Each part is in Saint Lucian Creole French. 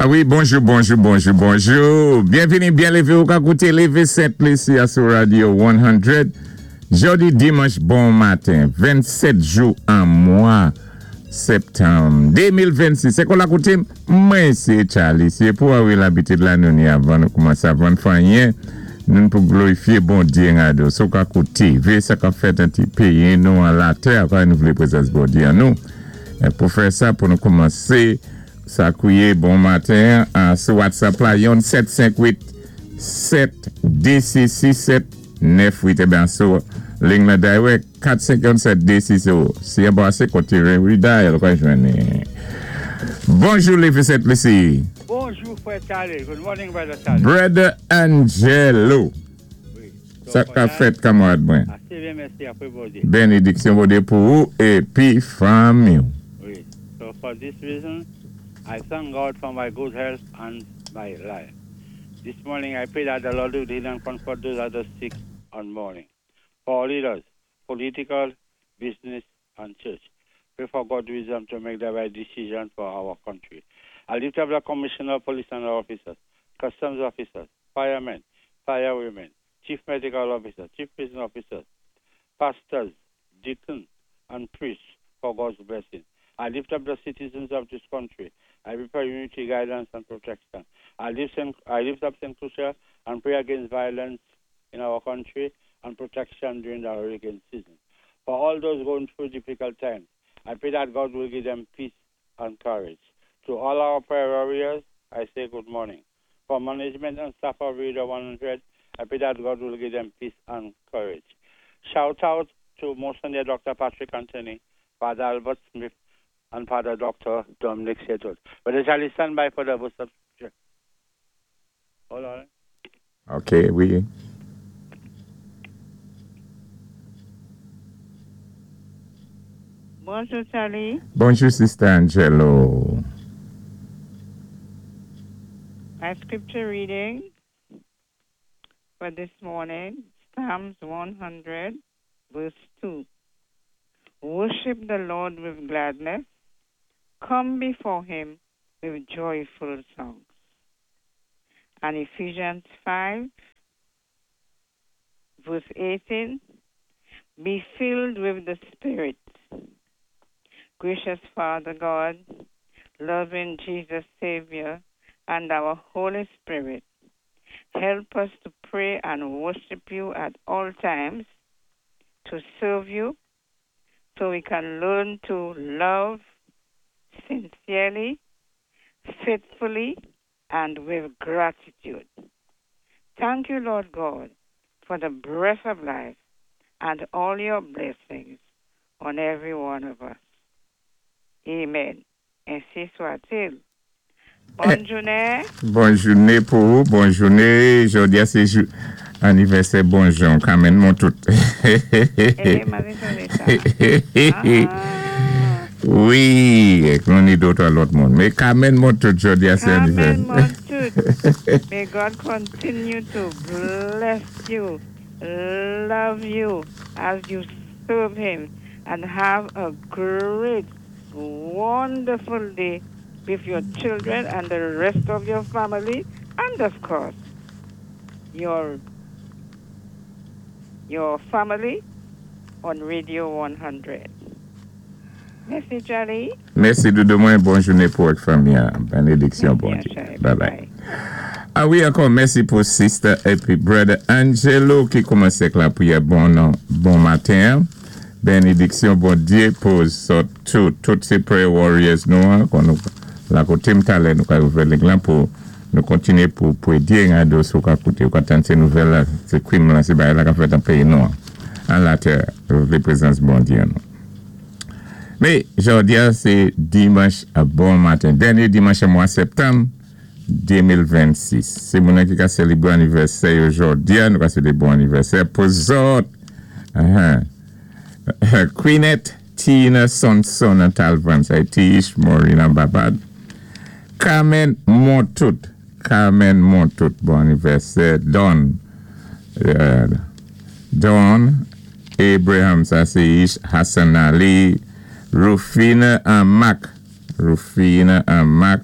A wi, bonjou, bonjou, bonjou, bonjou. Byenvini, byen lévé, ou ka kouté Lévé Sent Lisi a sou Radio 100. Jòdi dimanch bon maten, 27 jou an mwa septanm 2026. Sé kon la koutim, mwen sé Charlie. Si pou a wi labitid la nou ni avan nou koumansé avan fè anyen, nou pou glorifié Bondyé an do. Sou ka kouté, vé sa k-ap fèt an ti péyi nou an latè, akò nou vlé prézans Bondyé an nou. Pou fè sa, pou nou koumansé Sa kouye bon maten an sou WhatsApp la yon 7 5 8 7 2 6 6 7 9 8 eben sou ling la direct 4 5 1 7 2 6 0 si an pase kote redial ou ka jwenn ni. Bonjou Lefe Sent Lisi. Bonjou frè Charlie, good morning brother Charlie. Brother Angelo. Sa k ap fèt kanmarad mwen? Ase byen mèsi apre Bondye. Benediksyon Bondye pou ou epi fanmi w. Wi, so for this reason I thank God for my good health and my life. This morning I pray that the Lord will heal and comfort those that are sick and mourning. For our leaders, political, business and church. Pray for God's wisdom to make the right decision for our country. I lift up the commissioner of police and officers, customs officers, firemen, firewomen, chief medical officer, chief prison officers, pastors, deacons, and priests for God's blessing. I lift up the citizens of this country. I pray for unity, guidance, and protection. I lift up St. Lucia and pray against violence in our country and protection during the hurricane season. For all those going through difficult times, I pray that God will give them peace and courage. To all our prayer warriors, I say good morning. For management and staff of Radio 100, I pray that God will give them peace and courage. Shout out to Monsignor Dr. Patrick Anthony, Father Albert Smith, and Father Dr. Dominic Setot. Brother Charlie, stand by for the verse of scripture. Hold on. Ok, wi. Bonjou Charlie. Bonjou Sister Angelo. My scripture reading for this morning, Psalms 100, verse 2. Worship the Lord with gladness. Come before him with joyful songs. And Ephesians 5, verse 18. Be filled with the Spirit. Gracious Father God, loving Jesus Savior, and our Holy Spirit, help us to pray and worship you at all times, to serve you, so we can learn to love sincerely, faithfully, and with gratitude. Thank you, Lord God, for the breath of life and all your blessings on every one of us. Amen. Ensi swa-t-il. Bòn jounen. Bòn jounen pou ou, bòn jounen. Jòdi a sé jou anivèsè bon Jan, Carmen Montout. Eh, m-ap étonnés sa. Ah. Wi, nou ni dòt lòt moun. Mé Carmen Montout, jòdi a sé Carmen anivèsè. Montout. May God continue to bless you, love you as you serve Him, and have a great, wonderful day with your children and the rest of your family, and of course, your family on Radio 100. Mèsi, Charlie. Mèsi, doudou mwen. Bòn jounen pou ak fanmi. Benediksyon, bon Mèsi, Dye. Bye bye. A wi, ankò mèsi pou sister épi brother Angelo ki koumansé ak lapriyè bon non, bon maten. Benediksyon bon Dye pou zòt tout. Tout sé prayer warriors nou an, kon nou la koté m talè nou ka ouvè ling lan pou nou kontinyé pou pwédyé rado sou ka kouté ou ka tann sé nouvèl la, sé krim lan, sé bagay la k-ap fèt an péyi nou an. An latè, vlé prézans bon Dye nou. Mé jòdi a sé dimanch bon maten, dènyé dimanch an mwa septanm 2026. Sé moun ki ka sélébré anivèsè yo jòdi a, nou ka swété bon anivèsè pou zòt. Queenette Tina Sonson an Talvan, sa é Tiish Maureen an Barbad. Carmen Montout, Carmen Montout, bon anivèsè. Don, Don Abraham, sa sé Ish Hassan Ali, Rufina Mac, Rufina Mac.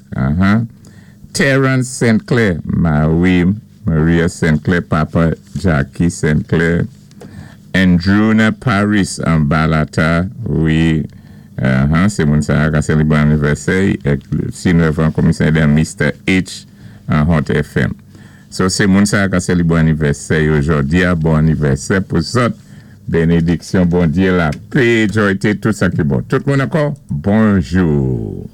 Terence St. Clair, Marie Maria St. Clair, papa Jackie St. Clair, Andrewna Paris an Balata, wi, sé moun sa ka sélibwé anivèsè, si nou komisè dan Mr. H an Hot FM. So sé moun sa ka sélibwé anivèsè jòdi-a, bon anivèsè pou zòt. Bénédiksyon, Bondyé, lapè, jwa, tout sa ki bon. Tout moun ankò, bonjou.